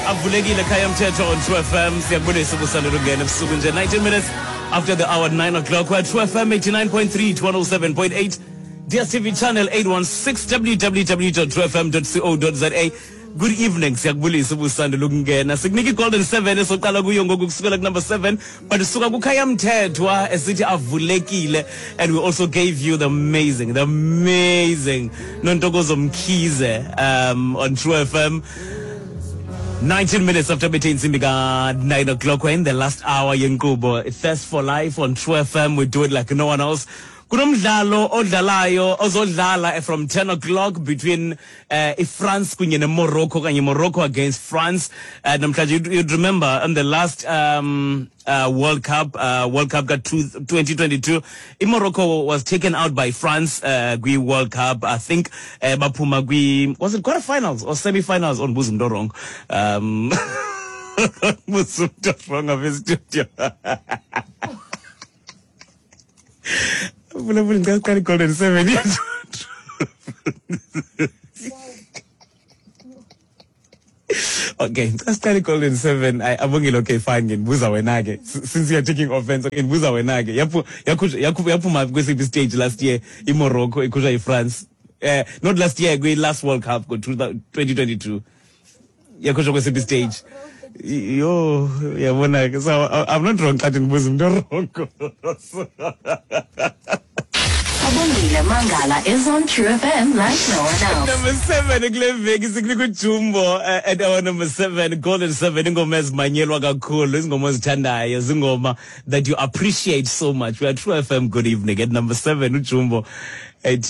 Avulekile khaya mthetho on 2 FM. Siyakubulisa ubusandela ungena ebusuku nje, 19 minutes after the hour, 9 o'clock. We're 2 FM 89.3 to 107.8, DStv channel 816, www.2fm.co.za. Good evening, siyakubulisa ubusandela ukungena. Sikunika i-Golden 7 esoqala kuyo ngoku kusukela ku-number 7, but suka kukhaya mthethwa esithi avulekile, and we also gave you the amazing Nontokozo Mkhize on True FM. 19 minutes after bethe intsimbi ka-9 o'clock, we're in the last hour yenkqubo Thirst for Life on True FM. We do it like no one else. Kunomdlalo odlalayo ozodlala from 10 o'clock between iFrance kunye neMorocco, kanye Morocco against France namhlanje. You'd remember on the last World Cup, World Cup ka 2022, iMorocco was taken out by France kwi-World Cup. I think baphuma kwi, was it quarterfinals or semi-finals? Ondibuza umntu wrong, buza umntu wrong apha e-studio. Vula vula, ngicela siqale i-Golden Seven yethu. Okay, ngicela siqale i-Golden Seven. Ayi, Abongile, okay, fine, ngibuza wena ke, since you are taking offense. Okay, ngibuza wena ke, yaphuma kwesiphi stage last year iMorocco ikhutshwa yiFrance? Not last year, kwi-last World Cup ngo-2022 yakhutshwa kwesiphi stage? Yho, yabona ke, so I'm not wrong xa ndibuza umntu wrong. Abongile Mangala is on True FM like no one else. Number 7 kule veki sikunika uJumbo at our number 7, Golden 7, ingoma ezimanyelwa kakhulu, izingoma ozithandayo, zingoma that you appreciate so much. We are True FM. Good evening. At number 7, uJumbo ethi